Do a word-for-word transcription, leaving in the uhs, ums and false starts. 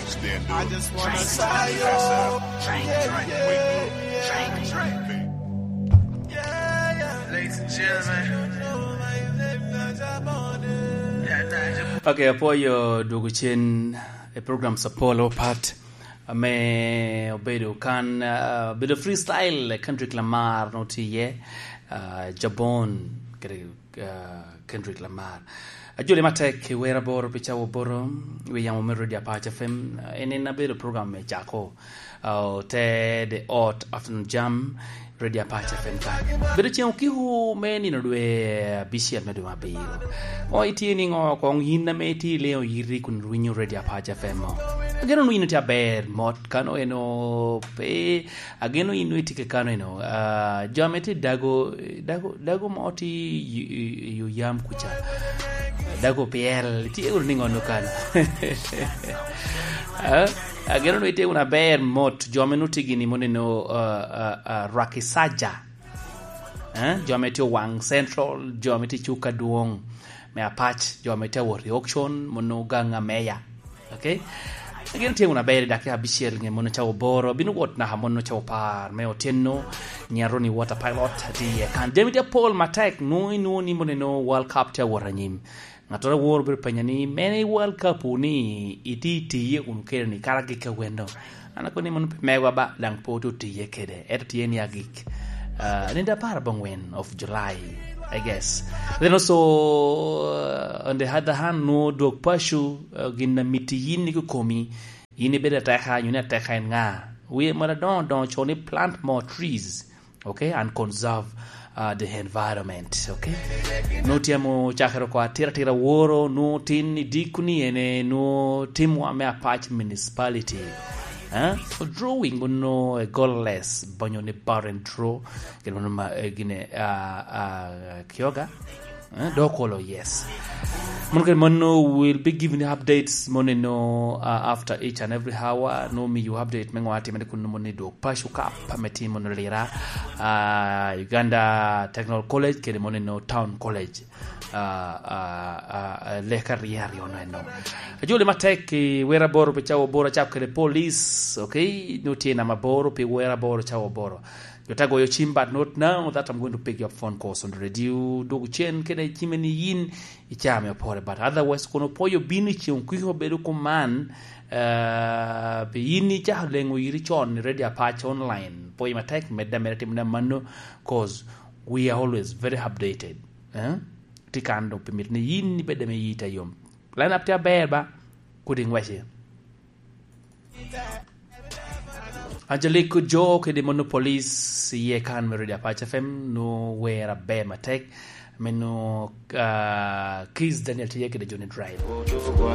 I just wanna say yo. Drink, drink, wake up. Drink, drink. Ladies and gentlemen. Okay, apwoyo dwogo cen e program Sapolo Pat ame obedo kan, uh, obedo freestyle, Kendrick Lamar no tye iye, uh, Jabon, kede uh, Kendrick Lamar. Ajoli matek i wer aboro pi cawa aboro, wi yamo me Radio Apac F M. En en abedo program me cako, uh, te The Hot Afternoon Jam, Radio Apac F M ka. Bedo ceng okiko me nino dwe abicel me dwe mabiro. O, itye niŋo koŋ yin ame itye i leŋo yiti kun rwinyo Radio Apac F M o? Ageno nwino tye aber mot kano eno pe Ageno in nwoŋo itye kekano eno. Ah, jo ame tye i dago, dago, dago mo tye i, i, i oyam kuca. Dago pyel, tye wunu niŋo no kan? Ah, ageno nwoŋo itye wunu aber mot, jo ame nwoŋo tye gini mono eno, ah, ah, ah, Rwaki Saja. Eh, jo ame tye Owaŋ Central, jo ame tye i Cuk Adwoŋ me Apac, jo ame tye awot i auction, mono gaŋ ameya. Okay? Gin tye wunu aber i dakika abicel, nge mono cawa aboro, bino wot naka mono cawa apar me otyeno, nyiŋ Aroni Water Pilot tye iye kan. Jami tye apol matek, nwoŋo inwoŋo ni mono eno World Cup tye awot anyim. Ŋattoro awor bedo penya ni, mene i World Cup ni itye itiye kun kede ni kara gik ka wendo. An akobo ni mono pe megwa ba, daŋ pe ote otiye kede. Ento tye ni agik. Uh, nino apar abongwen of July, I guess. Then also, uh, on the other hand, nwoŋo dwog paco, uh, gin a miti yin ni kokomi, yin ibedo ateka, nyo ni ateka en ŋa? Wiye moro adoŋo doŋo co ni plant more trees, okay, and conserve, uh, the environment, okay? Nwoŋo tye amo cakere oko atira atira woro, nwoŋo tin i dikku ni ene, nwoŋo timwa me Apac Municipality. Eh? Drawing ono a goalless, bonyo ni barren draw, gin ono ma, eh, gine, ah, ah, kyoga. Eh, dok olo, yes. Mono kede mono, we'll be giving you updates mono eno, uh, after each and every hour. No, mi you update me ŋo atimere kun mono ni dwog paco kap ame timo no lira. Uh, Uganda Technical College kede mono eno Town College. Uh, uh, uh, uh, leka riyo aryo no eno. Ajoli matek i wer aboro pi cawa aboro acap kede police, okay? No tye nama aboro pi wer aboro cawa aboro. Jo te goyo cim, but not now that I'm going to pick your phone calls on the radio. Dwogo cen kede cime ni yin i caa me opore, but otherwise kono pwoyo bino i ceng kwiko bedo kuman, uh, pi yin icako leŋo iri con i Radio Apac online. Pwoyo matek, medde ameda timo na mano, 'cause we are always very updated. Eh? Ti kan dok pi mit ni yin ibedde me yita yom. Line up tye aber ba, kodi ngwece. Angelique Jo kede mono police iye kan me Radio Apac F M, no wer aber matek. Meno, ah, Kiss Daniel tye kede Johnny Drive.